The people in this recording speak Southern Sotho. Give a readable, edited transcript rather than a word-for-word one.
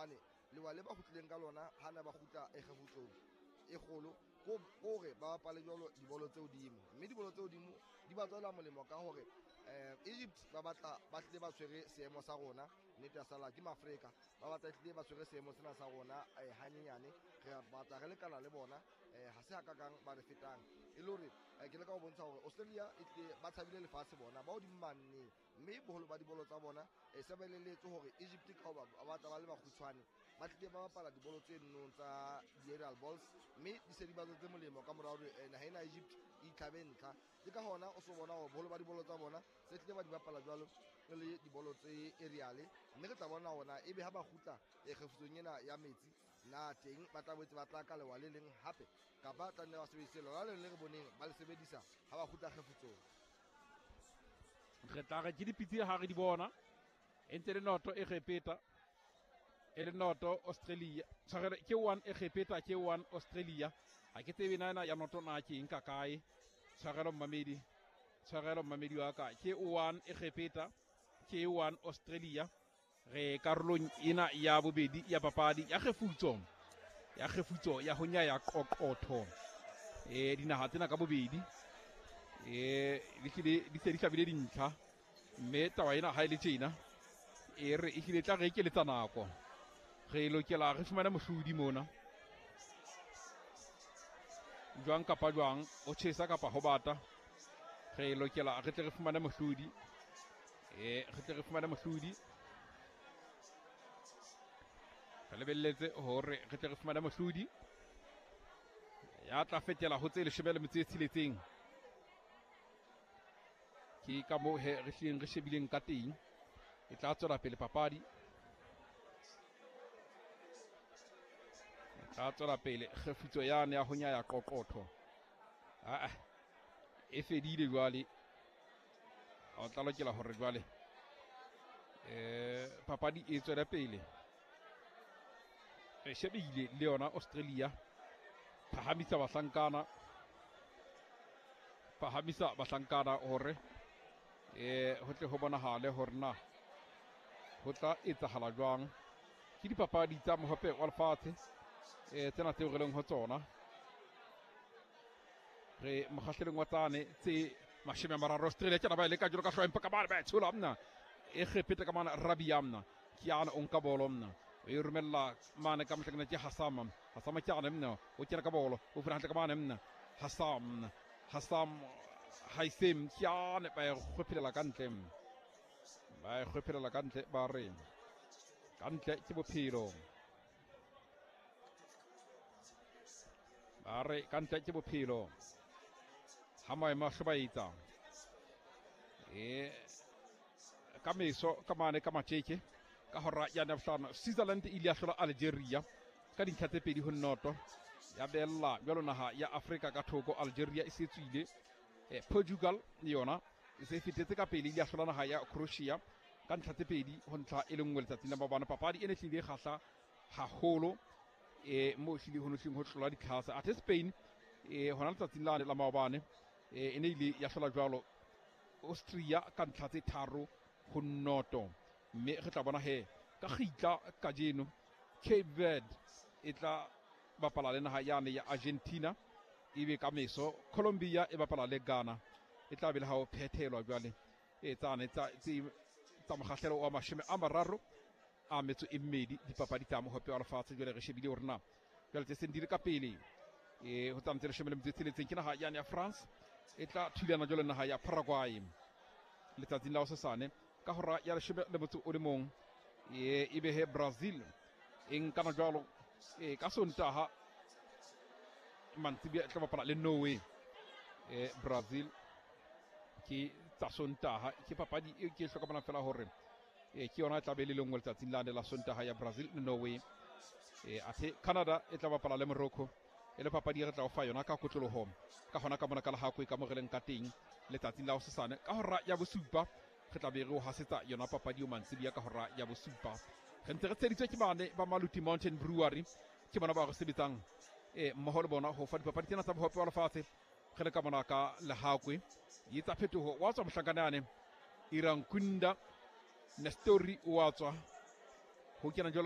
Hobane lewa le ba kgutlileng ka lona ha na ba kgutla e kgefutsong e kgolo, ko hore ba bapale jwalo dibolo tse hodimo, mme dibolo tse hodimo di ba tswela molemo ka hore Egypt ba batla ba hlile ba tshwere seemo sa rona. Nnete ya sala ke Maafrika, ba batla hlile ba tshwere seemo sena sa rona hanyenyane. Re batla re lekana le bona, ha se hakakang ba re fetang. E le hore ke leka ho bontsha hore Australia e tlile ba tshabile lefatshe, bona ba hodimo mane, mme boholo ba dibolo tsa bona se ba elelletswe hore Egypt ka hoba ba batla ba le bakgutshwane, ba tlile ba bapala dibolo tse nnong tsa di-aerial balls, mme di se di ba tswetse molemo ka mora hore naha ena Egypt e itlhabe ntlha. Ke ka hona o so bona hore boholo ba dibolo tsa bona se tlile ba di bapala jwalo e le dibolo tse aerial, mme re tla bona hore ebe ha ba kgutla kgefutsong ena ya metsi na teng ba tla boetse ba tla ka lewa le leng hape, kapa tla nne ba sebedise lona le le re boneng ba le sebedisa ha ba kgutla kgefutsong. Re tla re ke dipitse ha re di bona e ntse le noto e repeta e le noto Australia, tshwarelo ke 1 e repeta ke 1 Australia. Ha ke tsebe na ena ya noto na ke eng ka kae. Tshwarelo mmamedi, tshwarelo mmamedi wa ka, ke 1 e repeta ke 1 Australia. Re karolong ena ya bobedi ya papadi ya kgefutso, ya kgefutso ya ho nyaya qoqotho. Dinaha tsena ka bobedi di hlile di se di hlabile dintlha, mme taba ena ha e le tjena e re e hlile tla re ekeletsa nako, re lokela re fumane mohlodi mona jwang kapa jwang, o tjhesa kapa ho bata, re lokela re tle re fumane mohlodi. Re tle re fumane mohlodi, re lebelletse hore re tle re fumane mohlodi ya tla fetela ho tse 16. Ke ka moo he re hlileng re shebileng ka teng. E tla tswela pele papadi, e tla tswela pele kgefutso yane ya ho nyaya qoqotho. Aa e fedile jwale, o tla lokela hore jwale papadi e tswele pele. Re shebile le yona Australia, phahamisa bahlankana, phahamisa bahlankana hore ho tle ho bonahale hore na ho tla etsahala jwang. Ke dipapadi tsa mohope wa lefatshe tsena tseo re leng ho tsona. Re mokgahlelong wa tsane tse 30, Australia ke ba e leka jwalo ka hlooho, empa ka mane ba e tshola mna e kgepete ka mane Rabia mna ke ana o nka bolo mna o e romella mane ka mohlakana ke Hassam. Hassam ke ana mna o kena ka bolo, o fula hantle ka mane mna Hassam, Hassam Haisem ke ana ba e kgwephelela ka ntle, ba e kgwephelela ka ntle, ba re ka ntle ke bophelo, ba re ka ntle ke bophelo. Ha maemo a hlobaetsa ka meso ka mane ka matjeke ka hora ya bohlano, Switzerland e ile ya hlola Algeria ka dintlha tse 2-0, ya bella jwalo naha ya Afrika ka thoko. Algeria e se tswile. Portugal le yona e se fetetse ka pele, ile ya hlola naha ya Croatia ka ntlha tse 2-1 letsatsing la maobane. Papadi e ne hlile e kgahla haholo, mo hlile ho nohleng ho tlola ditlhase. Athe Spain hona letsatsing lane la maobane e ne ile ya hlola jwalo Austria ka ntlha tse 3-0. Mme re tla bona he ka kgitla kajeno Cape Verde e tla bapala le naha yane ya Argentina, ebe ka meso Colombia e bapala le Ghana. E tla be le ha o phethelwa jwale e tsane tsa tsa mokgahlelo wa 32 dipapadi tsa mohope wa lefatshe. Jwale re shebile hore na jwale tse seng di le ka pele ho tsane tse 16 ke naha yane ya France e tla thulana jwale naha ya Paraguay letsatsing la hosasane ka hora ya 11. Ebe he Brazil e nkana jwalo ka Sontaha mantsibuya e tla bapala le Norway. Brazil ke tsa Sontaha, ke papadi e ke hlokomelang fela hore ke yona e tla be le lengwe letsatsing lane la Sontaha ya Brazil le Norway. Athe Canada e tla bapala le Morocco, e le papadi e re tla o fa yona ka kotloloho ka hona ka mona ka lehakwe ka mo re leng ka teng letsatsing la hosasane ka hora ya 7. Re tla be re o hasetsa yona papadi eo mantsibuya ka hora ya 7. Re ntse re tsheditswe ke bane ba Maluti Mountain Brewery, ke bona ba re sebetsang mmoho le bona ho fa dipapadi tsena tsa bohope wa lefatshe. Re le ka mona ka lehakwe di etsa phetoho, wa tswa mohlankana yane Irankunda Nestori wa tswa ho kena jwalo.